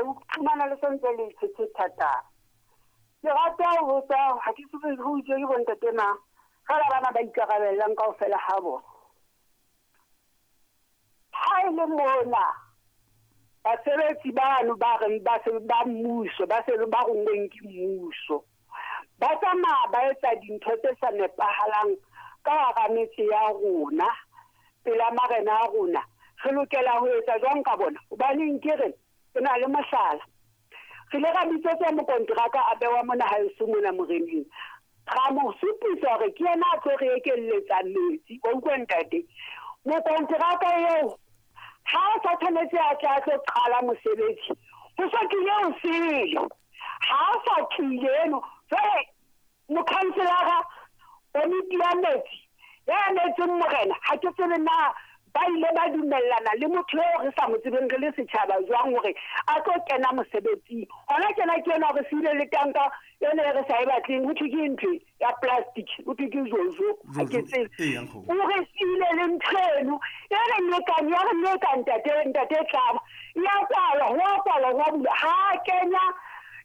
O fumana le santse le tshetse thata. Ke rata ho botsa ha ke tsebe ho itswe ke bontate mang. Fela bana ba ikarabellang kaofela ha bona. Ha e le mona basebetsi bano ba reng ba se ba mmuso ba se ba rongweng ke mmuso ba tsamaya ba etsa dintho tse sa nepahalang ka hara metse ya rona pela marena a rona re lokela ho etsa jwang ka bona hobaneng ke re ke na le mohlala re ile ra bitsetswa mokonteraka a bewa mona haeso mona moreneng ra mo supisa hore ke yena a tlo re ekelletsa metsi wa utlwa ntate mokonteraka eo ha a sa tshwanetse a tle a tlo qala mosebetsi ho so tlile o sele ha a sa tlile eno jwale Mokhanselara, komiti ya metsi ya emetseng morena, ha ke tsebe na ba ile ba dumellana le motho eo re sa mo tsebeng re le setjhaba jwang hore a tlo kena mosebetsing. Hona tjena ke ena re siile le tanka ena e re sa e batleng, ho thwe ke ntho ya plastic, ho thwe ke jojo, ha ke tsebe. O re siile le ntho eno e re nekang, ya re neka ntate, ntate Tlaba. Ya kwalwa, ho a kwalwa, ho a bulwa. Ha a kenya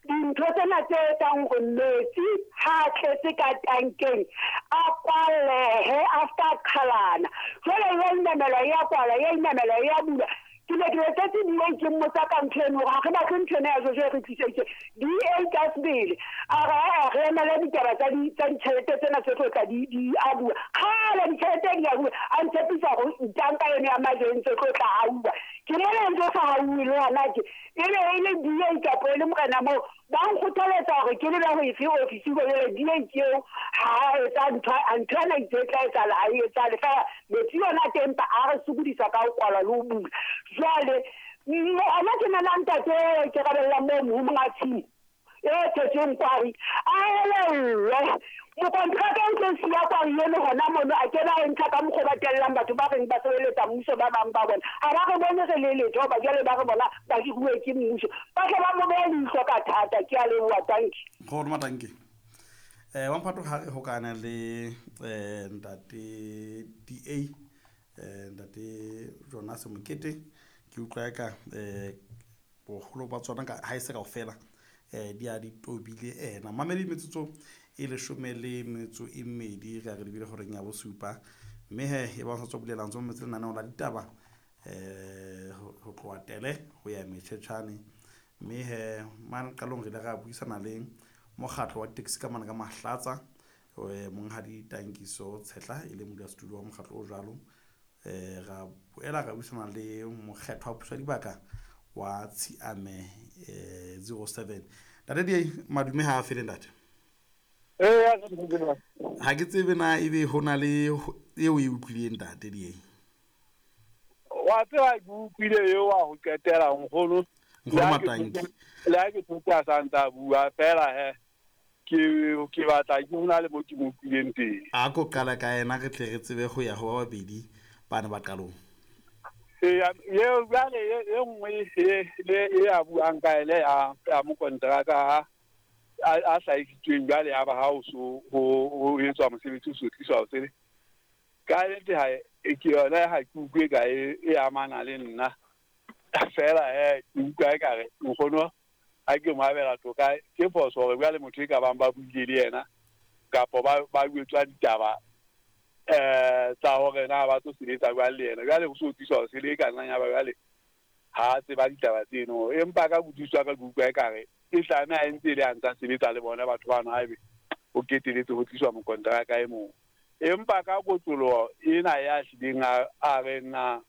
Dintho tsena tse etsang hore metsi ha a tletse ka tankeng a kwallehe, a ska qhalana. Jwale e ya inamelwa, e ya kwalwa, e ya inamelwa, e ya bulwa. Ke ne ke letsetse DA ke mmotsa ka ntho eno hore ha re batle ntho ena ya jojo e re tliseditse. DA ka sebele a re ha-eh re emele ditaba tsa di tsa ditjhelete tsena tse tlo tla di di abuwa. Kgale ditjhelete di abuwa, a ntshepisa hore tanka eno ya majwe e ntse tlo tla hauwa. Ke mona e ntse sa hauwe le hona tje. E be e le DA kapa e le morena moo, ba nkgothaletsa hore ke lebe ho efe ofisi ho jwale DA ke eo ha a etsa ntho ntho ena itse e tla etsahala ha e etsahale fela metsi yona a teng empa a re sokodisa ka ho kwalwa le ho bula. Jwale hona ke nana ntate eo ke rabellang moo ho monga tshimo e thetsweng kwari a elellwe mokontraka o tlo siya kwari eno hona mono a ke ba e ntsha ka mokgwa ba tellang batho ba reng ba sebeletsa mmuso ba bang ba bona ha ba re bone re le letho ba jwale ba re bona ba hiruwe ke mmuso ba tle ba mo behe leihlo ka thata. Ke a leboha, tanki. Go roma tanki. Wa mphato ga re gokana le ntate DA ntate Jonas Mokete ke utlwa eka Boholo ba tsona ka ha e se kaofela di a di tobile ena. Mamedi metsotso e leshome le metso e mmedi re a re lebile horeng ya bosupa. Mme he e ba sa tswa bulelang tswa mametse lenaneo la ditaba ho tloha Tele ho ya Metjhetjhane. Mme he mane qalong re ile ra buisana le mokgatlo wa ditekesi ka mane ka Mahlatsa monghadi Tankiso Tshehla e leng modulasetulo wa mokgatlo o jwalo. Ra boela ra buisana le mokgethwa wa puso ya dibaka wa Tshiame 07. Ntate Diei, madume ha a fele ntate. Ha ke tsebe na ebe ho na le eo e utlwileng ntate Diei. Wa tseba ke utlwile eo wa ho qetela nkgono. Nkgono Matanki. Le ha ke thotse a sa ntsa bua fela he. Ke, ke batla ke ho na le mo ke mo utlwileng teng. A ko qala ka yena re tle re tsebe ho ya ho ba babedi bana ba qalong. Eya, eo jwale e, e nngwe e, le e a buang ka ene ya, ya mokonteraka a, a, a hlahisitsweng jwale ya ba ha o so ho, ho etswa mosebetsi o so tliswa o sele. Ka nnete ha e, ke yona ha ke utlwe ka e, e amana le nna. Feela he, ke utlwa ekare nkgono Ha ke mo abela toka, ke phoso hore jwale motho e ka bang ba buile le yena kapa ba ba jwetswa ditaba tsa hore na ba tlo sebetsa jwang le yena. Jwale ho so tliswa ho sele e ka nnang ya ba jwale ha a tseba ditaba tseno. Empa ka kutlwisiso ya ka ke utlwa ekare e tlameha e ntse e le a ntsa sebetsa le bona batho bano haebe ho keteletse ho tliswa mokonteraka e mong. Empa ka kotloloho ena ya hlileng a a reng na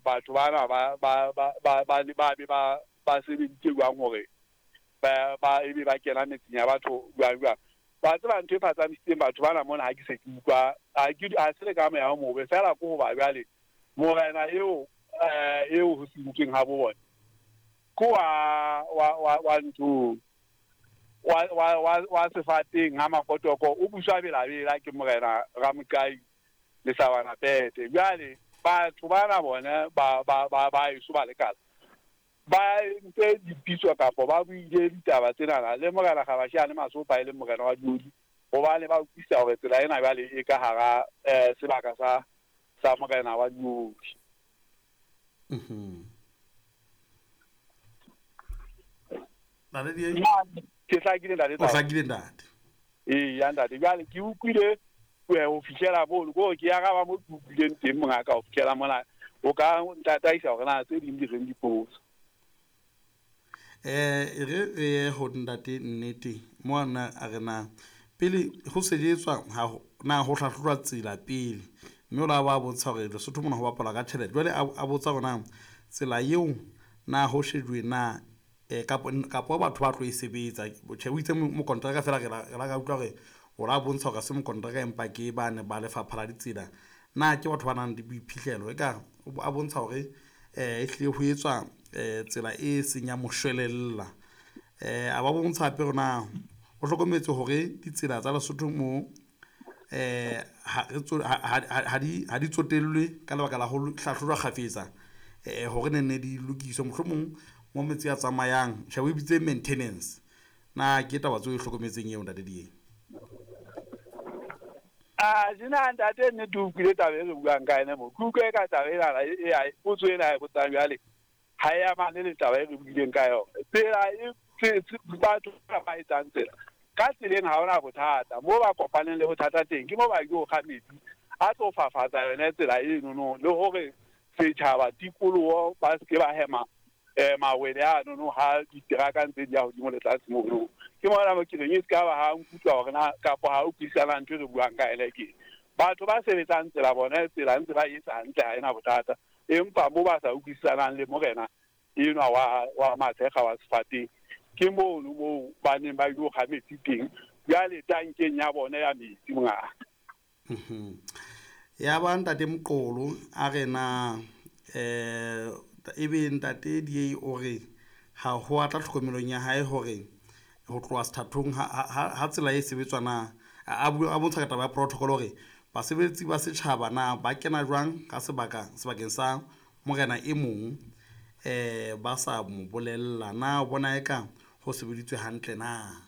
batho bana ba ba ba ba ba ba be ba ba sebeditse jwang hore ba ba ebe ba kena metseng ya batho jwang jwang. Wa tseba ntho e phatsamisitseng batho bana mona ha ke se ke utlwa ha ke ha se le ka moya o mobe feela ke hoba jwale morena eo eo ho sentsweng ha bo bona ke wa wa wa wa nthong wa wa wa wa sefateng ha Makotoko o buswa belabela ke morena Ramoqai Lehlabana Pete. Jwale batho bana bona ba ba ba ba eso ba lekala ba entse dipitso kapa ba buile ditaba tsenana le Morena Gabasheane Masopa e leng morena wa Diodi hobane ba utlwisisa hore tsela ena jwale e ka hara sebaka sa sa morena wa Diodi. Ntate DA? Ke hlakile ntate. O hlakile ntate. Ee ya ntate, jwale ke utlwile ho fihlela mono, ko ke araba mo ke utlwileng teng mongaka ho fihlela mona. O ka ntataisa hore na tse ding di reng dipotso. E re re ye ho ntate Nnete mo ana a re na pele ho sebetswa ha na ho hlahlojwa tsela pele, mme o la ba bontsha hore Lesotho mona ho bapalwa ka tjhelete. Jwale a botsa hore na tsela eo na ho shejuwe na kapo batho ba tlo e sebetsa. Tjhe, o itse mokontraka fela re la ka utlwa hore o la bontsha hore se mokontraka empa ke ba ne ba lefapha la ditsela. Na ke batho ba nang le boiphihlelo, e ka a bontsha hore ehlile ho etswa tsela e seng ya moshwelella. A ba bontsha hape hore na o hlokometse hore ditsela tsa Lesotho mo ha di tsotellwe ka lebaka la ho hlahlojwa kgafetsa, hore ne ne di lokiswe mohlomong mo metsi a tsamayang. Tjhe, o e bitse maintenance. Na ke taba tseo e hlokometseng eo ntate DA? A jena ntate Nnete o utlwile taba e re buang ka ena mo. Ke utlwe ka taba ena e potso ena e botsang jwale ha e amane le taba e re buileng ka yona. Tsela e batho ba etsang tsela ka tseleng ha hona bothata. Mo ba kopaneng le bothata teng ke mo ba yo kga metsi a tlo fafatsa yona tsela eno no, le hore setjhaba tikoloho ba se ba hema mawele ano no ha diteraka ntse di ya hodimo le tlase mono. Ke mona mo ke reng e se ka ba ha nkutlwa hore na kapa ha o utlwisisana ntho e re buang ka ena ke batho ba sebetsang tsela bona tsela ntse ba etsa hantle ha ena bothata, empa mo ba sa utlwisisanang le morena enwa wa Matshekga wa Sefateng ke mono moo ba neng ba ilo kga metsi teng jwale tankeng ya bona ya metsi mongaka. Ya ba ntate Moqolo a re na ebe ntate DA o re ha ho a tla tlhokomelong ya hae hore ho tloha sethathong ha tsela e sebetswa na a bontsha ka taba ya protocol hore basebetsi ba setjhaba na ba kena jwang ka sebakeng sa morena e mong ba sa mo bolella na o bona eka ho sebeditswe hantle na.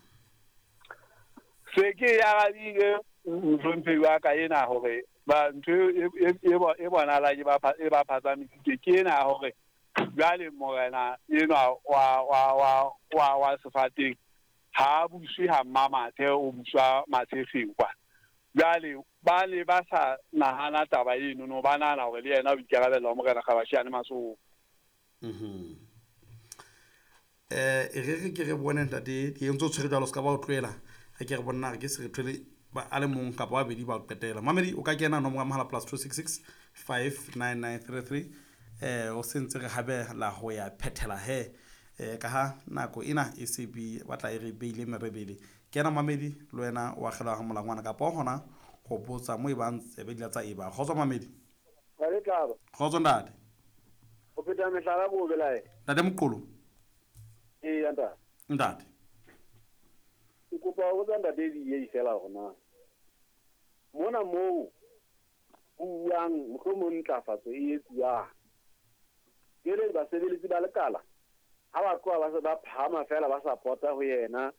Se ke arabile mohlomphehi wa ka ena hore ba ntho e bonahala e ba phatsamisitse ke ena hore jwale morena enwa wa Sefateng ha buswe ha Mmamathe, o buswa Matshekgeng kwa. Jwale ba ne ba sa nahana taba eno no, ba nahana hore le yena o ikarabella ho morena Kgabashiane Masoho. E re ke re bone ntate ke ntse o tshwere jwalo, se ka ba o tlohela. Re ke re bone ke se re thole ba a le mong kapa ba babedi ba o qetela. Mamedi o ka kena nomoro ya mohala +266 59933 o sentse re habela ho ya phethela he ka ha nako ena e se be batla e re beile merebele. Kena mamedi le wena o akgela ha molangwana kapa hona ho botsa mo e bang tsebe di tsa eba. Kgotso mamedi. Re tlaba. Kgotso ntate. O pheta mehlala bo belae. Ntate Moqolo. Ee ntate. Ntate. Ke kopa ho botsa ntate DA fela hore na mona moo ho buang mohlomong ntlafatso e etsuwang ke le basebeletsi ba lekala ha ba tloha ba se ba phahama fela ba sa pota ho yena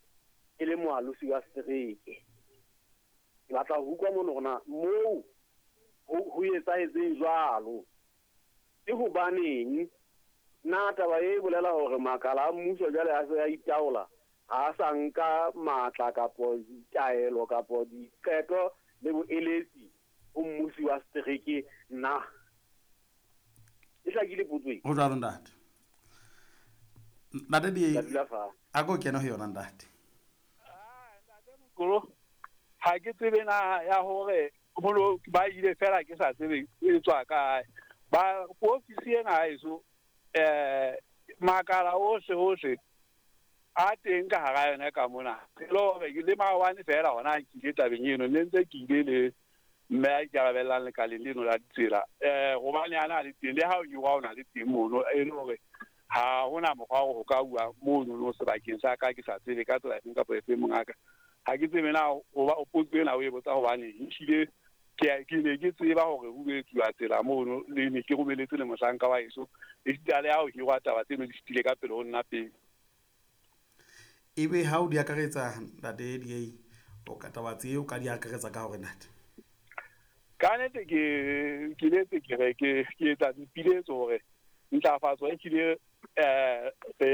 e le moalosi wa setereke. Ke batla ho utlwa mono hore na moo ho etsahetseng jwalo ke hobaneng. Na taba e bolela hore makala a mmuso jwale a se a itaola, ha sa nka matla kapo ditaelo kapo diqeto le boeletsi ho mmusi wa setereke na? E hlakile potso e? Ho jwalo ntate. Ntate DA a ko kena ho yona ntate. Ntate Moqolo, ha ke tsebe na ya hore holo ba ile fela ke sa tsebe e tswa kae. Ba ofisi ena ha eso makala ohle a teng ka hara yona ka mona. E le hore ke le maobane fela hona ke ile tabeng eno, ne ntse ke ile le mme a ikarabellang lekaleng leno la ditsela. Hobane ana le teng le ha o hirwa o na le teng mono, e le hore ha hona mokgwa wa ho ka bua mono no sebakeng sa ka ke sa tsebe ka tsela efeng kapa efeng mongaka. Ha ke tsebe na hoba o potso ena o e botsa hobane ehlile ke ne ke tseba hore ho etsuwa tsela mono, le ne ke romeletse le mohlanka wa heso esita le ha o hirwa taba tseno di fetile ka pele ho nna pele. Ebe ha o di akaretsa ntate DA, o ka taba tseo ka di akaretsa ka hore ntate? Ka nnete ke letse ke re ke etsa dipiletso hore ntlafatso e hlile re